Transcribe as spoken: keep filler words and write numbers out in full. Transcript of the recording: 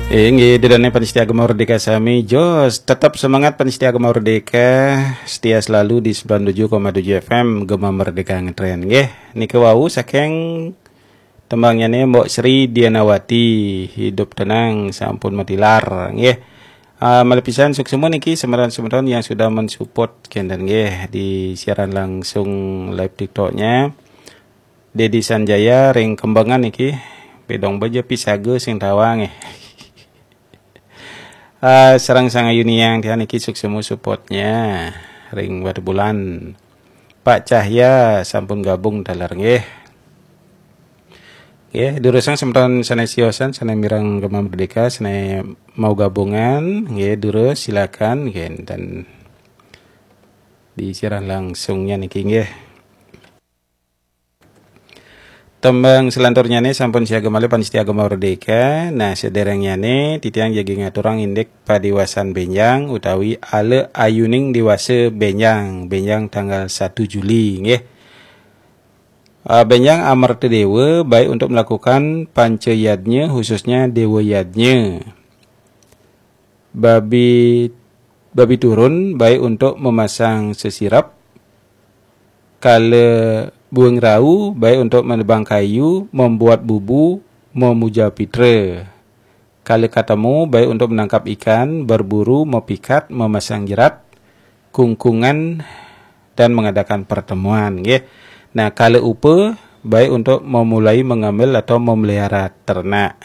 Eh, nggih, ida dané pamiarsa Gema Merdeka sami, jos, tetap semangat pamiarsa Gema Merdeka, setia selalu di sembilan tujuh koma tujuh F M Gema Merdeka ngetren, nggih. Nika wau saking tembangnyané Mbok Sri Dianawati, Hidup Tenang Sampun Matilar, nggih. Ah, malih pisan suksma niki semeton-semeton yang sudah mensupport kénten, nggih, di siaran langsung live TikToknya. Dedi Sanjaya ring Kembangan niki, bedong baja pisaga sing tawang, eh. Ah, sareng Sang Ayu Niang tiang niki suksma supportnya ring Batubulan. Pak Cahya sampun gabung taler, nggih. Nggih, durusang semeton sané siosan, sané mireng Gema Merdeka, sané mau gabungan, nggih, durus silakan, nggih, dan di siaran langsungnya niki, nggih. Tembang selanturnyané sampun siaga malih pamiarsa Gema Merdeka. Nah, sadéréngnyané titiang jagi ngaturang indik padiwasan bénjang utawi ala ayuning diwasa bénjang, bénjang tanggal satu Juli, nggih. Ah, bénjang Amerta Déwa baik untuk melakukan panca yadnya, khususnya Déwa Yadnya. Babi, babi turun baik untuk memasang sesirap. Kala buing rau baik untuk menebang kayu, membuat bubu, memuja pitra. Kala katemu baik untuk menangkap ikan, berburu, mepikat, memasang jerat, kungkungan, dan mengadakan pertemuan, nggih. Nah, kala upa baik untuk memulai mengambil atau memelihara ternak.